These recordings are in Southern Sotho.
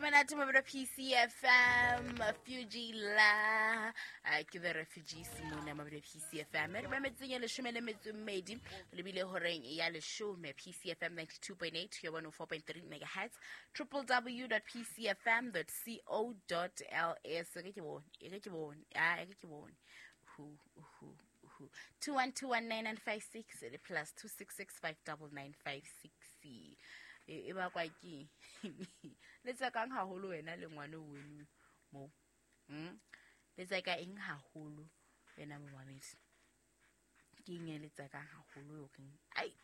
Monate mabelo PCFM Fuji la ke the refugees mona mabelo PCFM re ba metseng ya 12 lebile horeng ya 10 PCFM 92.8 ya 104.3 megahertz www.pcfm.co.ls re ke bone e ke bone a e ke bone hu hu hu 21219956 le plus 26659956 e ba kwa ke le tsakang haholo wena le ngwana weno mo le tsaka eng haholo wena momamedi ke eng e le tsakang haholo o reng ai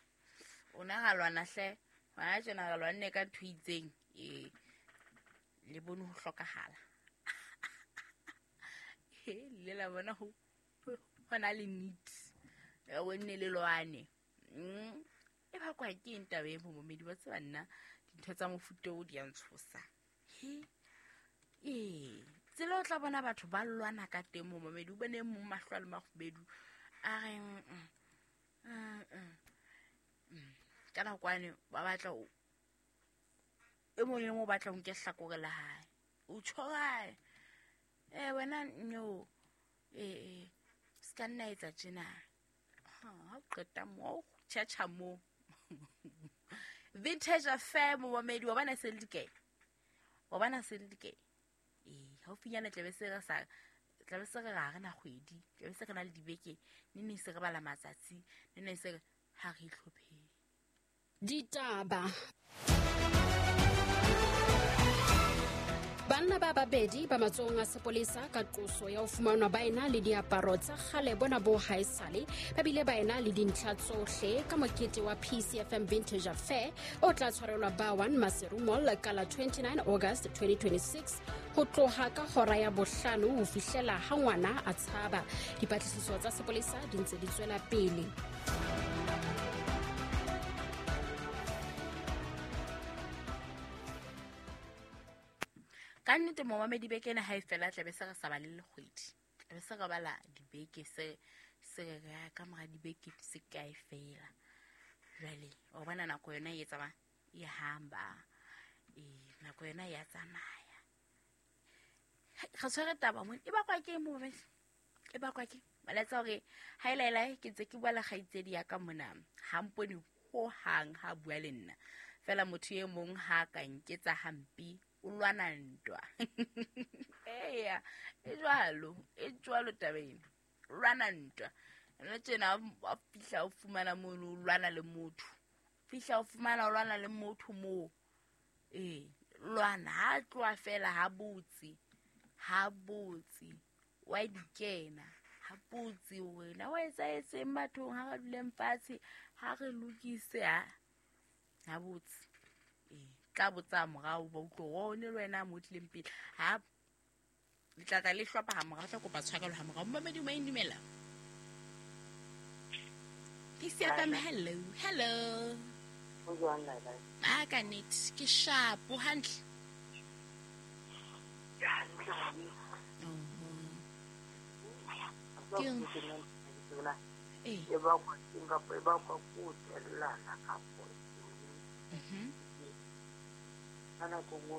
ona ga lwana hle hona tjena ga lwanne ka ntho itseng e le bone ho hlokahala le la bona ho hona le need o nne le lwane e ba kwa ke eng taba e momamedi ba tseba nna dintho tsa mofuta o di a ntshosa he ee tsela o tla bona batho ba lwana ka teng momamedi o bone mong mahlo a le makgubedu a re ka nakwane ba batla e mong le mong o batla ho nke hlakore la hae o tjho kae wena no se ka nna etsa tjena ha o qeta mo tjhatjha mo vintage affair momamedi wa bona se le dikae wa bona se le dikae haufinyana tlabe se re sa tlabe se re ga re na kgwedi tlabe se re na le dibeke ne ne se re bala matsatsi ne ne se re ha re itlhopheng ditaba. Banna ba babedi ba matsohong a sepolesa ka qoso ya ho fumanwa ba ena le diaparo tsa kgale bona bo haesale ba bile ba ena le dintlha tsohle ka mokete wa PCFM Vintage Affair o tla tshwarelwa Bawan Maseru Mall ka la 29 August 2026 ho tloha ka hora ya 5 ho fihlela ha ngwana a tshaba. Dipatlisiso tsa sepolesa di ntse di tswela pele. Ka nnete momamedi beke ena ha e fela tlabe se re sa bale le kgwedi tlabe se re bala dibeke se se re ka mora dibeke se kae fela jwale o bona nako yona e tsamaya e hamba nako yona ya tsamaya re tshwere taba mo e bakwa ke momamedi e bakwa ke malatsa hore ha elaela ke ntse ke bua le kgaitsedi ya ka mona ha mpone ho hang ha bua le nna fela motho e mong ha ka nketsa hampi o lwana ntwa eya e jwalo taba ena o lwana ntwa ena tjena a fihla o fumana mono o lwana le motho fihla o fumana o lwana le motho moo lwana ha tloha fela ha botse wa di kena ha botse wena wa etsa etseng bathong ha re duleng fatshe ha re lokise ha botse tla botsa morao ba utlwe o ne le wena mo tlileng pele ha le tla le hlopha ha morao tla kopa tshwarelo ha morao momamedi o indumela PCFM hello hello o jwang la la a ka nnete ke sharp hantle e ba kwa e ba kwa ko tellana ka po. Ana ko